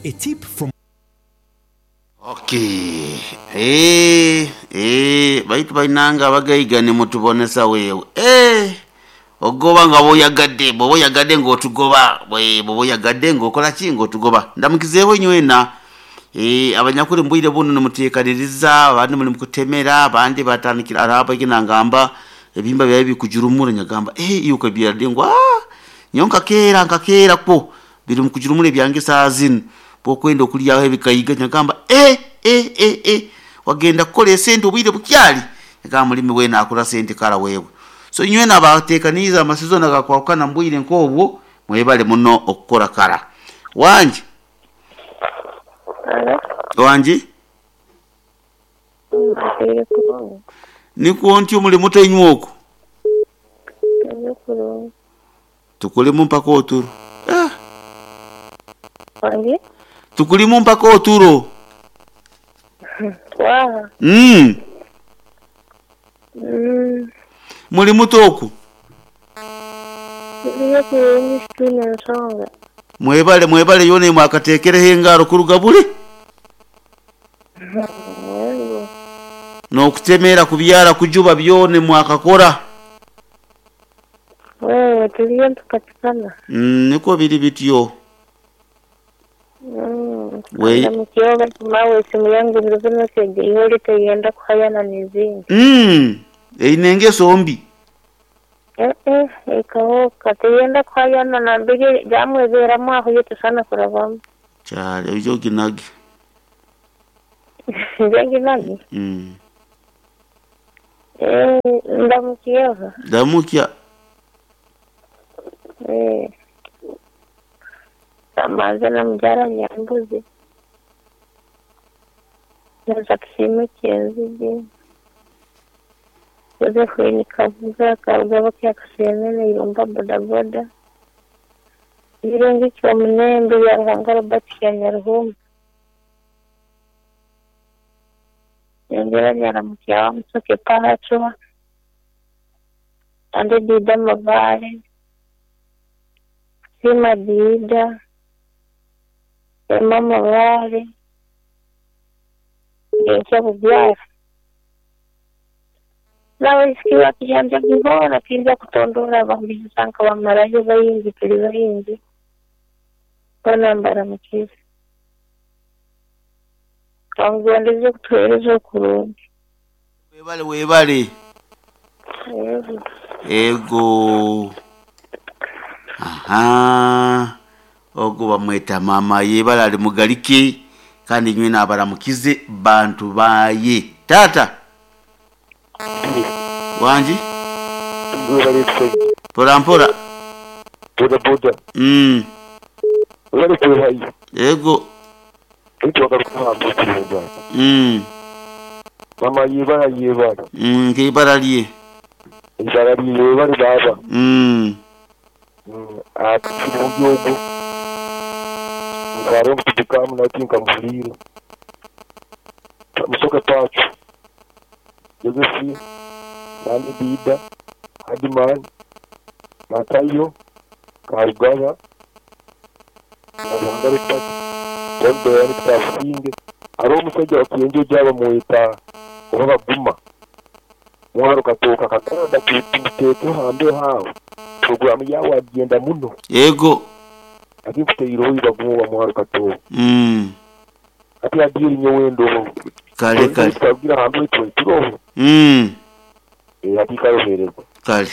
A tip from. Okay eeh eeh baitu bainange abagaiga nimutubonesa wewe eeh ogoba nga bwoyagadde bwoba oyagadde nga otugoba eeh bwoba oyagadde nga okola ki nga otugoba. Ndamukizeegho inywena eeh abanyakuli mu bwire buno nimuteekaniriza abandi muli mukutemera abandi batandikire hare abaine nangamba ebihimba byaibwe biri kujurumura nyagamba eeh iwe okabyara di ngu aah nyowe nkakeera nkakeera kwo Biri mu kujurumura ebyange esaaha zinu, bw'okwenda okulyaho ebikaiga nyagamba, Eh, eh, eh, eh, wagenda kukora esente obwire bukyali? Nyagamba mulimi weena akora sente kara wewe. So inywena abateekaniize amasizoni agakwahukana mu bwire nk'obwo, mwebale muno okukora kara. Wangi? Halo. Wangi? Mbaire kurungi. Nikwo ntyo muli muta inywe okwo? Turi kurungi. Tukulimu mpaka oturo. Eh. Wangi? Tukulimu mpaka oturo. Waha? Mm. Mm. Muli muta okwo? Turiyo kurungi titwine nsonga. Mwebale mwebale yoona mwakateekereho engaro kuruga buri. Yego. N'okutemeera kubyara kujuba byona mwakakora. Wewe turiyo nitupatikana. Nikwo biri bityo. We. Ndamukyeho baitu mawe esimu yange biro binu egi iholi teyenda kuhayana n'ezindi. Eine engeso mbi. Eh-eh, ekahoka teyenda kuhayana nambere jamweberamu aho yo tesaana kurabamu. Kyale oije oginage. Nje nginage? Eh, ndamukyeho. Ndamukya. Eh. Kamanze na mubyara Nyambuzi. Na Tusiime Kyenzige. Josephine Kabuga, Karugaba Kyakasenene, Irumba bodaboda. Birungi Kyomunembe, Byaruhanga Robert Kyanyaruhuma. Nyongera Nyaramukya wa Musoke Pahachwa. Ande Dida Mabare. Sima Dida. Emma Mabare. Ngenkya Bubyara. N'abaisiki bakijanja boona tinja kutondoora abahuliiriza nkabamarayo baingi tuli baingi. Boona mbaramukize. Kamugondeze okutuheereza okurungi. Webale webale. Yego. Ego. Ahaa. Ogwo bamweta maama yebale ali mugalike kandi inywena abaramukize bantu baye. Taata. Wangi? Webale kusaidia. Mpola mpola. Boda boda. Webale kwehayo. Ego. Baitu wagaruka aha mbuzi. Mama yebala yebala. Nkeibara lye. Eibara lye webale baaba. Ati kirungi ogwo. Nkaare omutudukamu nati nkamuhuriire. Musoke Pacho, Josephine, Nandi Dida, Hardman, Matayo, Karugaba, Nyaruhanga Rupert, John Doyani Kitabusinge. Hariho omusaija wakienjojo bamweta oba Baguma. Mwaro katooka Kaganda tumuteekeho hambeho aho. Puroguramu yaawe agyenda muno. Yego. Ati nkuteireho iwe Baguma owa Mwaro Katooka. Ati adiiri nyowe ndoho. Kale kale. Tukarugira hambeho itwe turoho. Ati karohereza. Kale.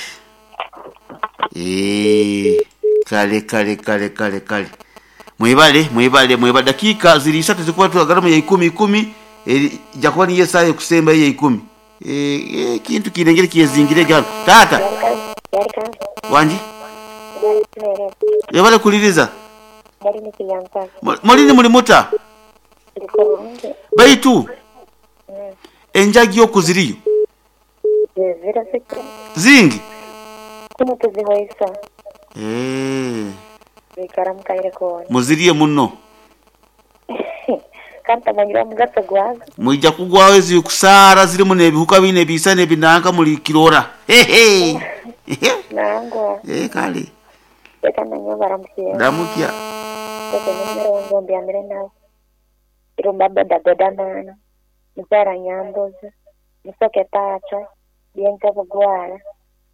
Eeh kale kale kale kale kale. Mwebale mwebale mwebale dakiika ziri isatu zikuba twagalamu ya ikumi ikumi eja kuba niyo esaaha ekusembayo eya ikumi. Eeh ekintu kiine engeri kyezingire ghano. Taata. Wangi? Webale kuliriza. Muli ni muli muta? Baitu enjagi oku ziriyo? Zingi? Eeh. Muzirye muno. Mwija kugwagho eziri kusaara zirimu n'ebihuka bino ebiisa n'ebinanka muli kirora. Hehe! Ee kale. Ndamukya. Bombyamire nabo. Irumba bodaboda man, Mukyala Nyambuzi, Musoke Pacho, Byenka Bugwara,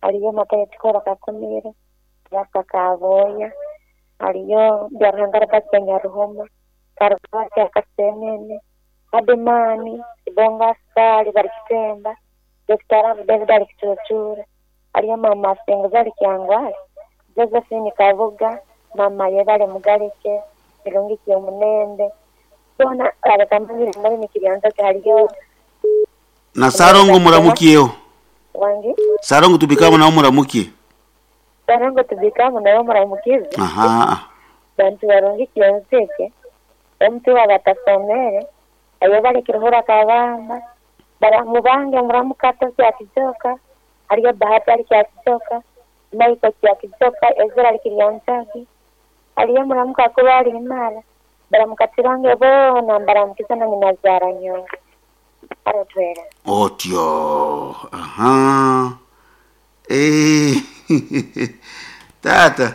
aliyo Matayo Kikoro Kakumiro, Raka Kaboya, aliyo Byaruhanga Robert Nyaruhuma, Karuvati Akasenene, Adimani, Bonga Askari bali Kitemba, Dr. Rabu David ali Kichuchura, aliyo Mama Senguza ali Kyangwali, Josephine Kabuga, Mama Yebale Mugalike, Kirungi Kyomunende, bona abakamanyire muri nikiryanza kyaliyo Na Sarongo muramukieho. Wangi. Sarongo tubikamo nawo muramukie. Sarongo tubikamo nawo muramukize. Aha. Bantu barungi kyonseke. Omuntu wabatasomere ayo bali kiruhura kabamba baramubange muramukato kyakijoka aliyo bahati ali kyakijoka maiko kyakijoka ezra ali kiryanzaki aliyo muramuka kuba ali imara baramukatirange bona baramukiza na nyina nyonga arotwera Otyo. Aha. Eh. Tata.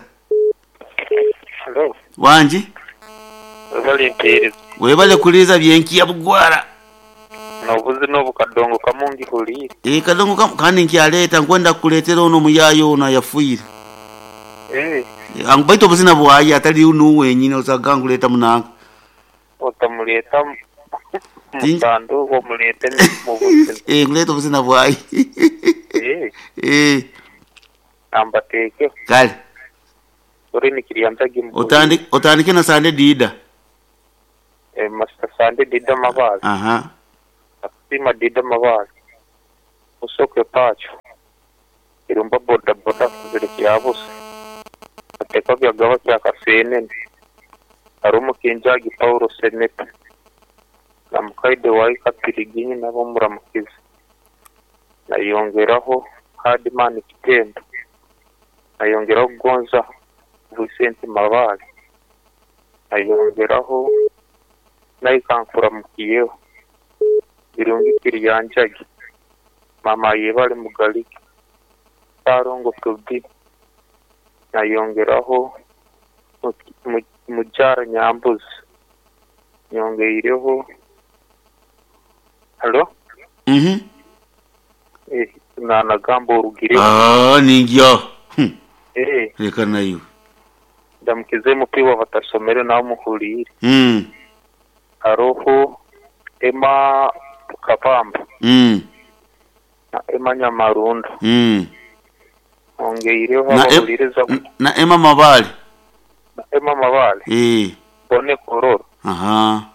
Hello. Wanji. Webale mpeereza. Webale kuliza byenkiya bugwara. Nobuzi n'obukadongo kamungi huliire. Eh, kadongo kamu kandi nkyaleeta nkwenda kukuleetera ono muyaayo ono ayafiire. Eh, Baitu obuzina bwaye atali unu wenyini osaga nkuleeta munanka. otamuleeta musanduuko omuleete mu buzina. Eh, nkuleeta obuzina bwaye. Eh, Eh, ambateekeho. kale. Ori nikiryanzagi mu Otandike na Sande Dida. Eh, Master Sande Dida Mabazi. Aha. Asima Dida Mabazi. Musoke Pacho. Irumba boda boda kuzire kyabusa. Ateka byagaba kya Kasenene. Harumu Kinjagi Paulo Seneta. Na Mukaide wa Kapiriginyi nabo muramukiza. Nayongeraho Hardman Kitendo. Nayongeraho Gonza Vicente Mabale. Nayongeraho Naikankura Mukiyeho. Birungi Kiryanjagi. Mama Yebale Mugalike. Sarongo Tubi. Nayongeraho Mujara Nyambuzi. Nyongeireho. Halo? Mhm. Eh, nanagamba orugireho. Ah, ningyo. Eh, Reka nayo. ndamukize mupiwa batasomere nawe muhurire. Haroho Emma Kabamba na Emma Nyamarunda. Ongeireho Na, abahuririza na Emma Mabale. na Emma Mabale. Eh. Bone Kororo. Aha.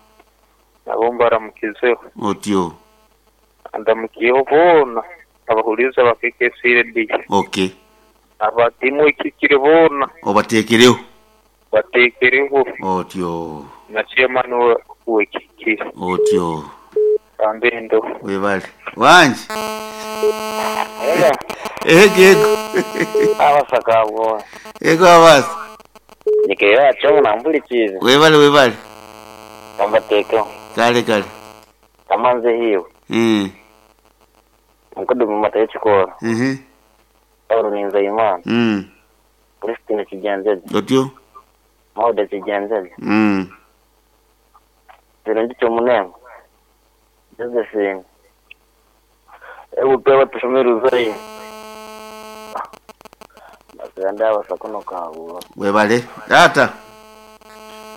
Nabo mbaramukizeho. Otyo. Ndamukiyeho bona abahuririza ba KKC Radio. Okay. Abatimu ikikire bona Obateekereho. batekereho Otyo. na chairman wekikire. Otyo. Kambendo. Webale. Wanji. Ega, Ego ego. abasakabwo. Ego abasi. Nikeyo acho nambulikize. Webale webale. Ambateko. Kale kale. Kamanze hiyo. Mkudu mata yechikoro. Paulo Ninzeyimana. Christine Kigenzeje. Otyo. Maude Kigenzeje. Birungi Kyomunengo. Josephine. Ebupewa tushomere uzayi. Basenda abasakono kabwo. Webale. Tata.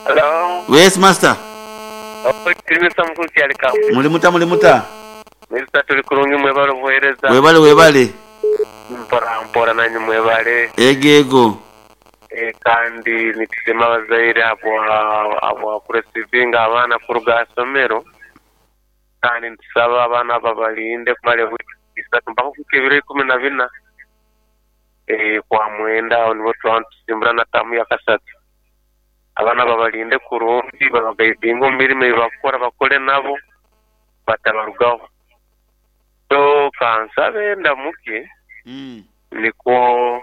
Hello. Yes master. Mr. Mkulu kyalika. Mulimuta mulimuta. Mr. tuli kurungi mwebale obuheereza. Webale webale. Mpora mpora nanyu mwebale. Ego ego. Kandi nitusema abazaire abo kuresivinga abaana kuruga asomero. Kandi nitusaba abaana babalinde kumara ewiki isatu mpaka kufika ebiro 14. Kwa mwenda aho nibo twaba nitusimbura na tamu ya kasatu. Abaana babalinde kurungi babagaidinga omu mirimo ei bakukora bakore nabo batabarugaho. So kansabe ndamuke niko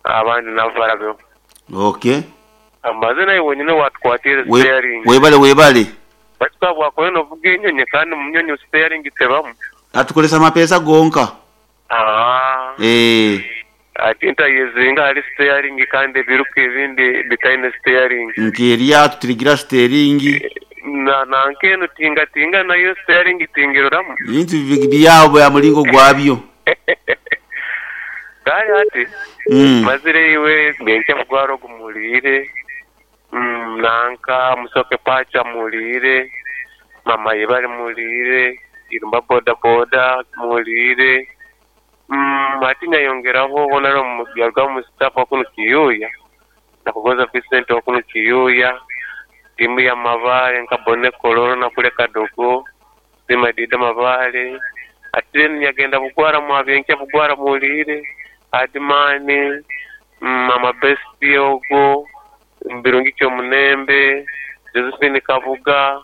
abandi nabo barabeho. Okay. Amaze naye wenyine watwatire steering. Webale webale. Batuka bwakoye novuga enyonyi kandi mu nyonyi steering tebamu. Atukolesa amapesa gonka. Ah. Eh. Ati ntayezinga ahali siteyaringi kandi ebiruka ebindi bitaine siteyaringi. Nk'eryato tirigira siteeringi. Na nanka enu tingatinga nayo siteyaringi tingiroramu. Ebintu byabo bya mulingo gwabyo. Kale ati mazire iwe Byenkya Bugwara ogumuliire, nanka Musoke Pacha muliire, Mama Yebale muliire, Irumba bodaboda muliire, Ati nayongeraho Honarebo Byarugaba Musitafa wa kunu Kiyuuya, Nakugonza Vincent wa kunu Kiyuuya, tiimu ya Mabaale nka Boney Kololo na kule Kadogo, Sima Dida Mabaale. Ati then yagenda Bugwara Mwabyenkya Bugwara muwuliire, Adimani, Mama Bestie ogwo, Birungi Kyomunembe, Josephine Kabuga,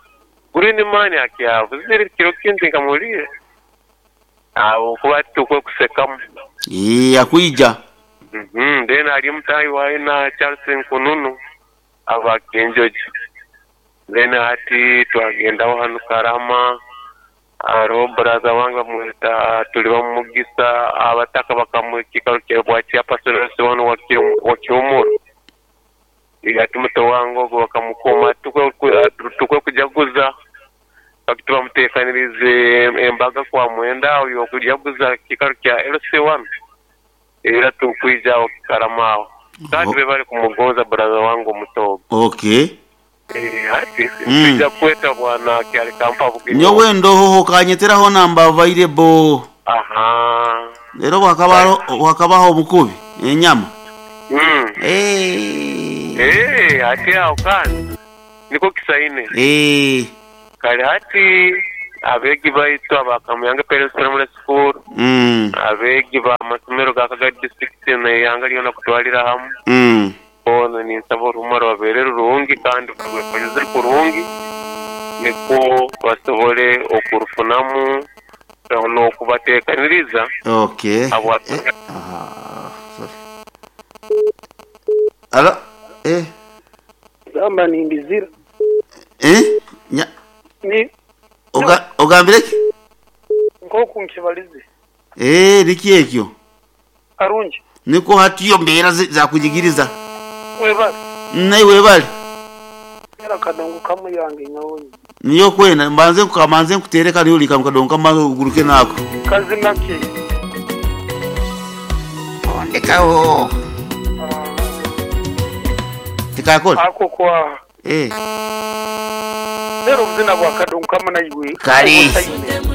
Green Man akyavuzire kiro kindi nkamuwuliire. Agho kuba tikwekusekamu. Eeh akwija. Then ali mutaahi waina Charles Nkununu aba Kinjojo. Then hati twagendaho hanu Karama, haroho brother wange bamweta Tulibamumugisa, abataka bakamuha ekiikaro kya bwa chairperson wanu wa Kihumuro. Hati muto wange ogwo bakamukuuma tikwekujaguza. Fakiti bamuteekaniriize embaga kwa Mwenda agho y'okujaguza ekiikaro kya LC1 era tukwija agho Kikarama agho. Kandi bebale kumugonza brother wange omuto ogwo. Okay. Eeh hati twija kukweta bwana Kyalikampa Bugingo. Nyowe ndoho okanyetera hona mba available. Ahaa. Leero bwakabaho obukubi enyama. Eeh. Eeh hati agho kandi nikwo kisaine. Eeh. Kale hati abeegi baitu aba Kamuyange Parents Primary School, abeegi ba masomero ga Kagadi District n'eihanga lyona kutwalira hamu, boona ninsaba oruhuma rubabeere rurungi kandi barwekonyeze kurungi nikwo basobole okurufunamu n'okubateekaniriza Okay. habwa Eh, ah, sorry. Alo, eh. Gamba ni ndizira. Eh? Nya, Ni oga, ogambire ki? Nk'oku nkibalize. Eh, niki ekyo? Karungi. Nikwo hatiyo mbeera zakujigiriza. Webale. Naiwe webale. Era kadongo kamu yange nyowe. Niyo kwenda mbanze nkamanze nkutere kali oli kadongo kamanze oguruke nako. Kazina ki? Ondekawo. Tikakola. Ako kwa. Eh. Lero obuzina bwa kadongo kamu naiwe. Kale.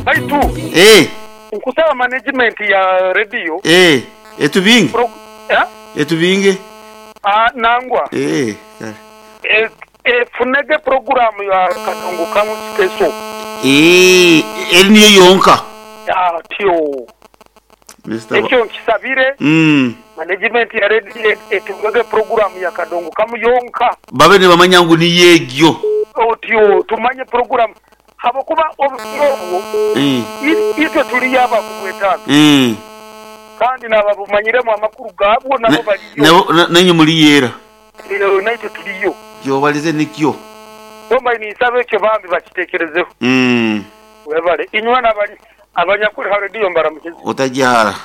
Baitu. Eh. Nkusaba management ya radio. Eh. Etubinge. Eh? Etubinge. Ah, nangwa. Eh. Kale. Efunege programu ya kadongo kamu special. Eh, eri niyo yonka. Atyo. Mister Ekyo nkisabire. Management ya radio etugege programu ya kadongo kamu yonka. Babe nibamanya ngu niyo egyo. Otyo tumanye programu habwokuba obusiro obwo itwe tuliyo abakubwetaaga. Kandi n'ababumanyiremu amakuru gaabwo nabo baliyo. Nainywe muliyo era. Naitwe tuliyo. Kyobalize nikyo. Omba ninsaba ekyo bambi bakitekerezeho. Webale inywe n'abali abanyakuli ha rediyo mbaramukize. Otajja hala.